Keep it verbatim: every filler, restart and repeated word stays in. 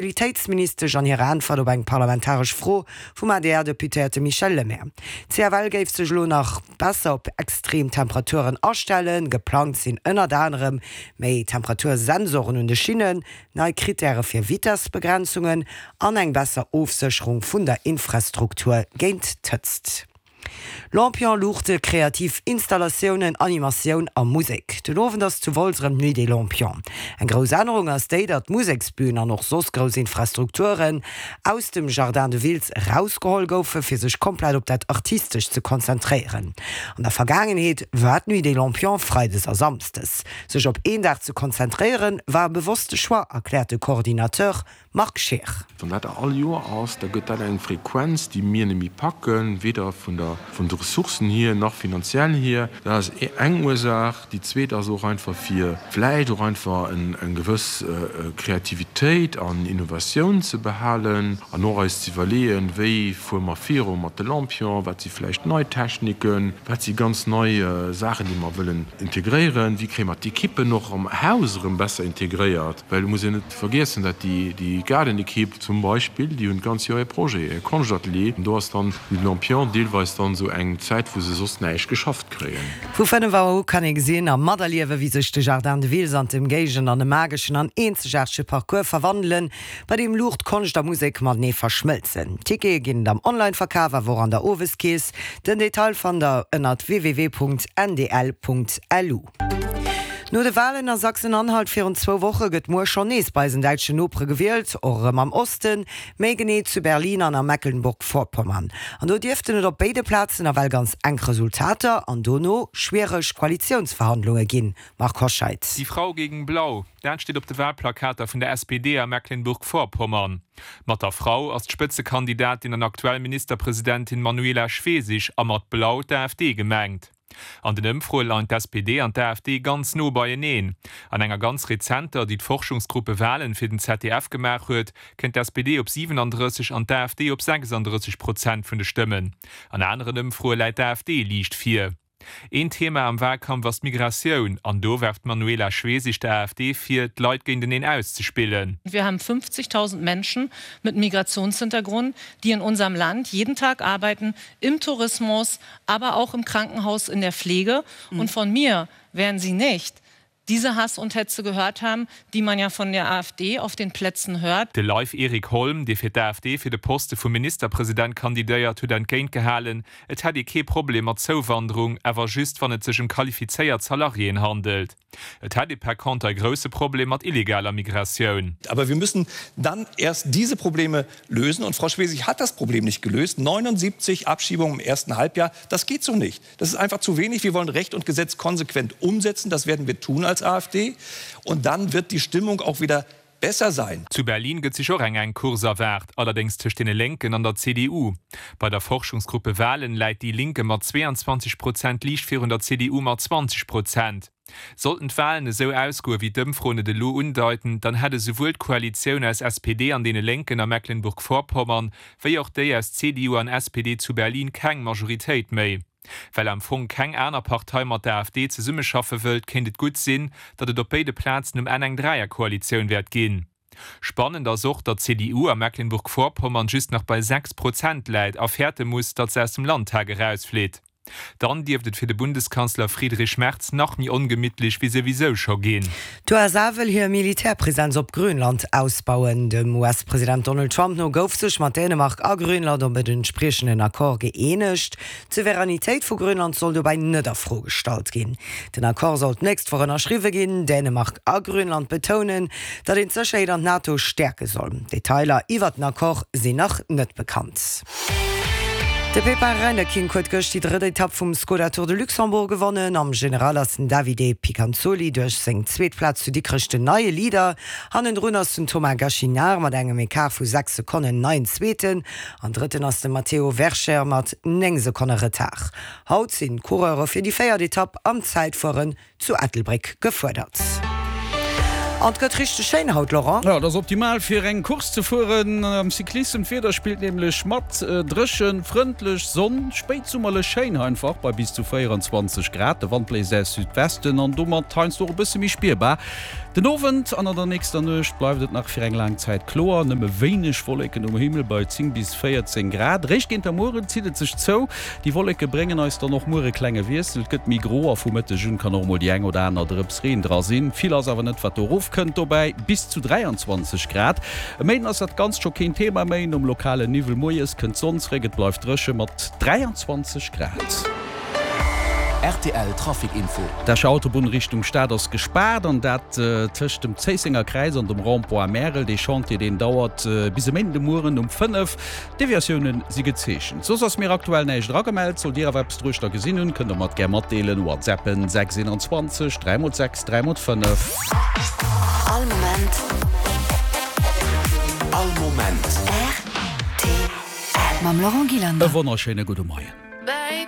Mobilitéitsministesch an hirer Äntwert op eng parlamentaresch Fro vum A D R-Deputéierte Michel Lemaire. D' C F L géif sech elo nach besser op extrem Temperaturen astellen. Geplangt sinn ënnert anerem méi Temperatursensoren un de Schinnen, nei Krittäre fir Vitessbegrenzungen an eng besser Ofsécherung vun der Infrastruktur géint d'Hëtzt. Lampion, Luuchte, kreativ Installatiounen, Animatioun a Musek. Den Owend ass zu Wolz erëm d'Nuit des Lampions. Eng grouss Ännerung ass déi, datt d'Museksbün an och soss grouss Infrastrukturen aus dem Jardin de Wiltz erausgeholl goufe fir sech komplett op dat Artistescht ze konzentréieren. An der Vergaangenheet war d'Nuit des Lampions freides a samsdes. Sech op een Dag ze konzentréieren, war e bewosste Choix, erkläert de Coordinateur Marc Scheer. Wann dat all Joer ass, da gëtt dat eng Frequenz, déi mir net méi packen, weder vun der vun de Ressourcen hier nach finanziell hier. Dat ass eng Ursaach. Déi zweet ass och einfach fir vläicht och einfach eng gewëss Kreativitéit an Innovatioun ze behalen an och eis ze iwwerleeën, wéi fuere mer viru mat de Lampion, wat si vläicht nei Techniken, wat si ganz nei Saachen, déi mer wëllen integréieren, wéi kréie mer d'Ekippen och am Haus erëm besser integréiert, well et muss een net vergiessen, datt déi Gaardenekipp zum Beispill, déi hunn d'ganz Joer e Projet, e Konschtatelier, an do ass dann de Lampion deelweis dann esou eng Zäit, wou se soss näischt geschafft kréien. Vu fënnef Auer u kann ee gesinn a materliewen, wéi sech de Jardin de Wiltz an d'Ëmgéigend an e mageschen an eenzegaartege Parcours verwandelen, bei deem Luucht, Konscht a Musek matenee verschmëlzen. Tickete ginn et am Online-Verkaf, awer och an der Oweskeess. Den Detail fannt der ënnert W W W Punkt N D L Punkt L U. No de Walen a Sachsen-Anhalt virun zwou Woche gëtt muer schonn nees bei eisen däitschen Nopere gewielt, och erëm am Osten, méi genee zu Berlin an a Mecklenburg-Vorpommern. An do dierften et op béide Plazen nawell ganz enk Resultater an dono schwiereg Koalitiounsverhandlunge ginn. Marc Hoscheid. Die Frau gegen Blau, dat steet op de Walplakater vun der S P D a Mecklenburg-Vorpommern. Mat der Frau ass d'Spëtzekandidatin an aktuell Ministerpresidentin Manuela Schwesig a mat Blau d'A F D gemengt. An den Ëmfroe leien d'S P D an d'A F D ganz no beieneen. An enger ganz rezenter, déi d'Forschungsgruppe Wahlen fir den Z D F gemaach huet, kënnt d'S P D op siwenandrësseg an d'A F D op sechsandrësseg Prozent vun de Stëmmen. An aneren Ëmfroe läit d'A F D liicht vir. Een Thema am Walkampf ass d'Migratioun, an do werft d'Manuela Schwesig der A F D vir, d'Leit géinteneen auszespillen. Wir haben fünfzigtausend Menschen mit Migrationshintergrund, die in unserem Land jeden Tag arbeiten, im Tourismus, aber auch im Krankenhaus, in der Pflege. Und von mir werden sie nicht diese Hass und Hetze gehört haben, die man ja von der A F D auf den Plätzen hört. De Leif Erik Holm, dee fir d'A F D fir de Poste vum Ministerpresident kandidéiert, huet entgéint gehalen, et hätt ee kee Problem mat Zouwanderung, awer just wann et sech ëm qualifizéiert Salariéen handelt. Et hätt ee par contre e grousse Problem mat illegaler Migratioun. Aber wir müssen dann erst diese Probleme lösen. Und Frau Schwesig hat das Problem nicht gelöst. neunundsiebzig Abschiebungen im ersten Halbjahr, das geht so nicht. Das ist einfach zu wenig. Wir wollen Recht und Gesetz konsequent umsetzen. Das werden wir tun als A F D. Und dann wird die Stimmung auch wieder besser sein. Zu Berlin gëtt sech och eng enk Course erwaart, allerdéngs tëscht deene Lénken an der C D U. Bei der Forschungsgruppe Wahlen läit déi Linke mat zweeanzwanzeg Prozent liicht virun der C D U mat zwanzeg Prozent. Sollten d'Walen esou ausgoen, wéi d'Ëmfroen et elo undeiten, dann hätt esouwuel d'Koalitioun aus S P D an deene Lénken a Mecklenburg-Vorpommern, wéi och déi aus C D U an S P D zu Berlin keng Majoritéit méi. Well am Fong keng aner Partei mat der A F D zesummeschaffe wëllt, kéint et gutt sinn, datt et op béide Plazen um Enn eng Dräierkoalitioun wäert ginn. Spannend ass och, datt d'C D U a Mecklenburg-Vorpommern just nach bei sechs Prozent läit a fäerte muss, datt se aus dem Landtag erausflitt. Dann dierft et fir de Bundeskanzler Friedrich Merz nach méi ongemittlech wéi souwisou scho ginn. D'U S A wëll hir Militärpresenz op Grönland ausbauen. Dem U S-President Donald Trump no gouf sech mat Dänemark a Grönland op en entspriechenden Accord gëeenegt. D'Souveränitéit vu Grönland soll dobäi net a Fro gestallt ginn. Den Accord soll d'nächst Woch ënnerschriwwe ginn. Dänemark a Grönland betounen, datt een d'Sécherheet an d'NATO stäerke soll. Detailer iwwer den Accord sinn nach net bekannt. De Pepin Reinderkink huet gëscht déi drëtt Etapp vum Skoda Tour de Luxembourg gewonnen. Am General ass den Davide Piganzoli duerch seng zweet Plaz zu Dikrech den neie Leader. Hannendrun ass den Thomas Gachignard mat engem Ecart vu sechs Sekonnen neien Zweeten. An Drëtten ass de Matteo Vercher mat néng Sekonne Retard. Haut sinn d'Coureure fir déi véiert Etapp am Zäitfueren zu Ettelbréck gefuerdert. An et gëtt richteg schéin haut, Laurent. Jo, et ass optimal fir eng Course ze fueren am Cyclissem. D'Wieder spillt nämlech mat, dréchen, frëndlech, Sonn, spéitsummerlech schéin einfach bei bis zu véierenzwanzeg Grad. De Wand bléist aus Südwesten an domat heiansdo och e bësse méi spierbar. Den Owend an an der nächster Nuecht bleift et nach fir eng laang Zäit kloer, nëmme wéineg Wolleken um Himmel bei zéng bis véierzéng Grad. Réischt géint der Mueren zitt et sech zou, déi Wolleke bréngen eis dann och muer e klenge Wiessel, et gëtt méi gro a vu Mëtteg un kann och mol déi eng oder aner Drëps Reen dra sinn. Vill ass awer net wat do erofkënnt, dobäi bis zu dräianzwanzeg Grad. E Méinden ass dat Ganzt scho keen Thema méi, nom lokale Niwwel moies kënnt d'Sonn zréck, et bleift dréche mat dräianzwanzeg Grad. Rtl Trafic Info. D'Escher Autobunn Richtung Stad ass gespaart an dat tëscht dem Zéissenger Kräiz an dem Rond-point Märel. Dee Chantier deen dauert bis e Méinden de Mueren um fënnef. Deviatioune si gezeechent. Soss ass mir aktuell näischt eragemellt. Sollt Dir awer eppes druechter gesinn hunn, kënnt der mer et gär matdeelen. Whatsappen sechs eenanzwanzeg dräi mol sechs dräi mol fënnef. All Moment. All Moment. Rtl. Mam Laurent Gillander. E wonnerschéine gudde Moien.